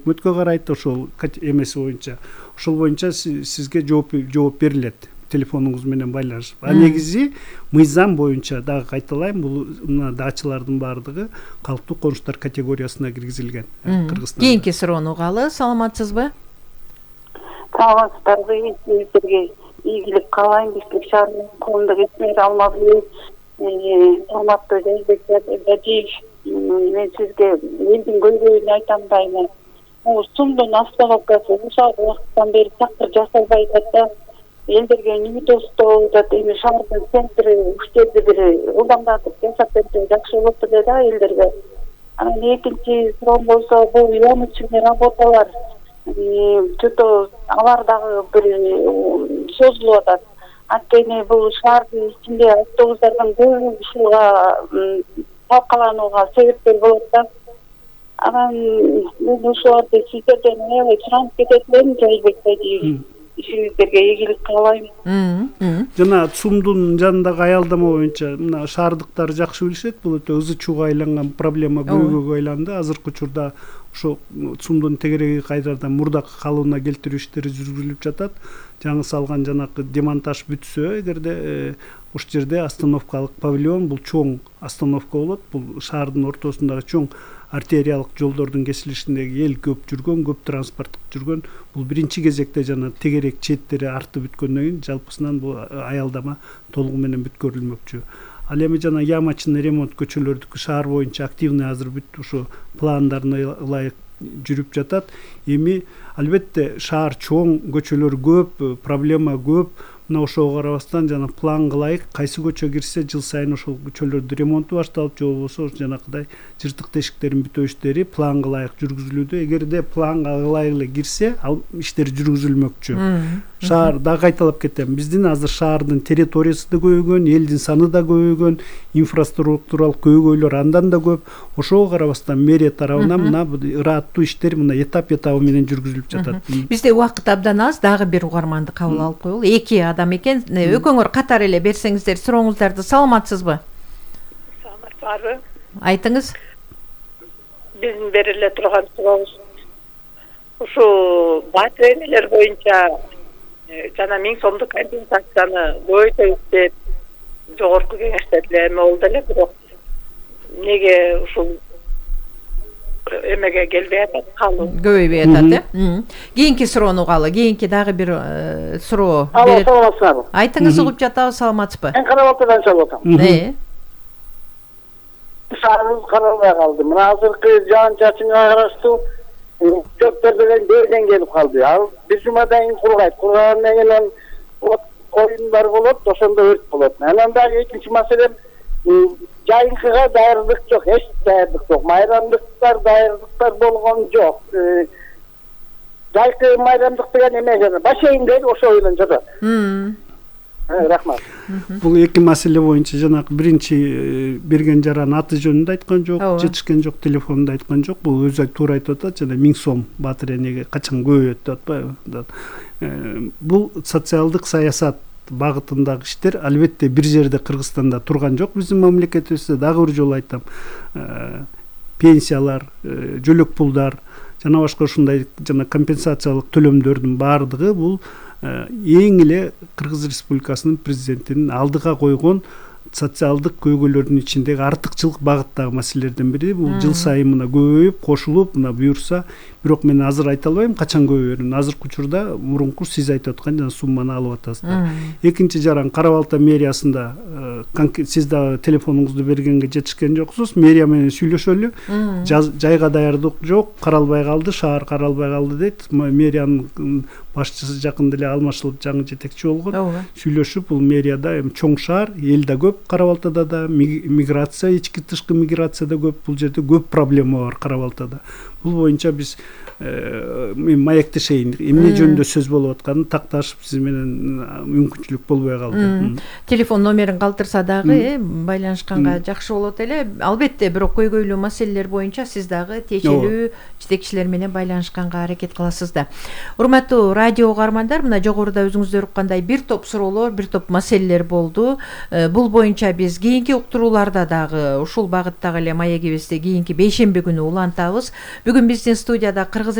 өкмөткө карайт, ошол эмеси боюнча, ошол боюнча сизге жооп берилет телефонуңуз менен байланышып. А негизи мыйзам боюнча дагы кайталайм, бул мына дачалардын баардыгы калктуу конуштар категориясына киргизилген Кыргызстанда. Кийинки суроону угалы. Саламатсызбы? Саламатсыздарбы? Сиздерге ийгилик каалайм. Бишкек шаарынын коомдук ишмери Алмазбек, урматтуу Жайбек Бадиев, мен сизге элдин көйгөйүн айтам дайыма. Сумдун остановкасы ушул убакыттан бери такыр жасалбай атат да. Элдерге эмне тостоо атат, эми шаардын центри уш жерде бир ылдамдатып жасап берсе жакшы болот эле да элдерге. Анан экинчи суроом болсо, бул ямочный работалар чөтө алар дагы бир созулуп атат. Анткени бул шаардын ичинде автобустардын көбү ушуга талкаланууга себепкер болот да. Анан мен ушуларды сиздерден аябай суранып кетет элем, Жайбек Бадиев. Ишиңиздерге ийгилик каалайм. Жана ЦУМдун жанындагы аялдама боюнча мына шаардыктар жакшы билишет, бул өтө ызы чууга айланган проблема, көйгөйгө айланды. Азыркы учурда ошо ЦУМдун тегереги кайрадан мурдакы калыбына келтирүү иштери жүргүзүлүп жатат. Жаңы салган жанакы демонтаж бүтсө, эгерде ошол жерде остановкалык павильон, бул чоң остановка болот. Бул шаардын ортосундагы чоң артериялык жолдордун кесилишиндеги эл көп жүргөн, көп транспорт жүргөн. Бул биринчи кезекте жана тегерек четтери артып бүткөндөн кийин жалпысынан бул аялдама толугу менен бүткөрүлмөкчү. Ал эми жана ямочный ремонт көчөлөрдүкү шаар боюнча активный азыр бүт ушу пландарына ылайык жүрүп жатат. Эми албетте шаар чоң, көчөлөр көп, проблема көп. Мына ошого карабастан жана планга ылайык кайсы көчө кирсе жыл сайын ошол көчөлөрдү ремонту башталып, же болбосо жанакыдай жыртык тешиктерин бүтөө иштери планга ылайык жүргүзүлүүдө. Эгерде планга ылайык эле кирсе, ал иштер жүргүзүлмөкчү. Шаар дагы кайталап кетем. Биздин азыр шаардын территориясы да көбөйгөн, элдин саны да көбөйгөн, инфраструктуралык көйгөйлөр андан да көп. Ошого карабастан мэрия тарабынан мына ырааттуу иштер мына этап менен жүргүзүлүп жатат. Бизде убакыт абдан аз, дагы бир угарманды кабыл алып коелу. Эки адам экен, экөөңөр катар эле берсеңиздер сурооңуздарды. Саламатсызбы? Саламатсызбы? Айтыңыз. Биздин бериле турган сурообуз ушу батирейнелер боюнча жана 1000 сомдук компенсацияны көбөйтөбүз деп жогорку кеңеште эме болду эле, бирок эмнеге ушул эмеге келбей атат, калуу көбөйбөй атат, Кийинки суроону угалы. Кийинки дагы бир суроо. Алло, саламатсызбы? Айтыңыз, угуп жатабыз. Саламатсызбы? Мен Карабалтадан чалып атам. Шаарыбыз каралбай калды. Мына азыркы жаан-чачынга караштуу чөптөр делен берден келип калды. Ал бир жумадан кийин кургайт. Кургандан кийин оюндар болот, ошондо өрт болот. Анан дагы экинчи маселе, жайынкыга даярдык жок, эч даярдык жок. Майрамдыктар, даярдыктар болгон жок. Жайкы майрамдык деген эме жана бассейндер ошо менен жатат. Рахмат. Бул эки маселе боюнча жанакы биринчи берген жаранын аты жөнүндө айткан жок, жетишкен жок, телефонунда айткан жок. Бул өзү туура айтып атат, жана 1000 сом батирейнеге качан көбөйөт деп атпайбы? Бул социалдык саясат багытындагы иштер албетте бир жерде Кыргызстанда турган жок. Биздин мамлекетибизде дагы бир жолу айтам, пенсиялар, жөлөк пулдар жана башка ушундай жана компенсациялык төлөмдөрдүн баардыгы бул эң эле Кыргыз Республикасынын президентинин алдыга койгон социалдык көйгөйлөрдүн ичиндеги артыкчылык багыттагы маселелерден бири. Бул жыл сайын мына көбөйүп, кошулуп, мына буюрса, бирок мен азыр айта албайм качан көбөйөрүн. Азыркы учурда мурунку сиз айтып аткан жана сумманы алып атасыздар. Экинчи жаран Кара Балта мэриясында сиз да телефонуңузду бергенге жетишкен жоксуз. Мэрия менен сүйлөшөлү. Жайга даярдык жок, каралбай калды, шаар каралбай калды дейт. Мэриянын башчысы жакында эле алмашылып жаңы жетекчи болгон. Сүйлөшүп, бул мэрияда эми чоң шаар, эл да көп, Кара Балтада да миграция, ички тышкы миграция да көп. Бул жерде көп проблема бар Кара Балтада. Бул боюнча биз мен маектешейин, эмне жөнүндө сөз болуп атканын такташып сиз менен мүмкүнчүлүк болбой калды. Телефон номерин калтырса дагы байланышканга жакшы болот эле. Албетте, бирок көйгөйлүү маселелер боюнча сиз дагы тиешелүү жетекчилер менен байланышканга аракет кыласыз да. Урматтуу радио угармандар, мына жогоруда өзүңүздөр уккандай бир топ суроолор, бир топ маселелер болду. Бул боюнча биз кийинки уктурууларда дагы ушул багыттагы эле маегибизди кийинки бейшемби күнү улантабыз. Бүгүн биздин студияда Кыргыз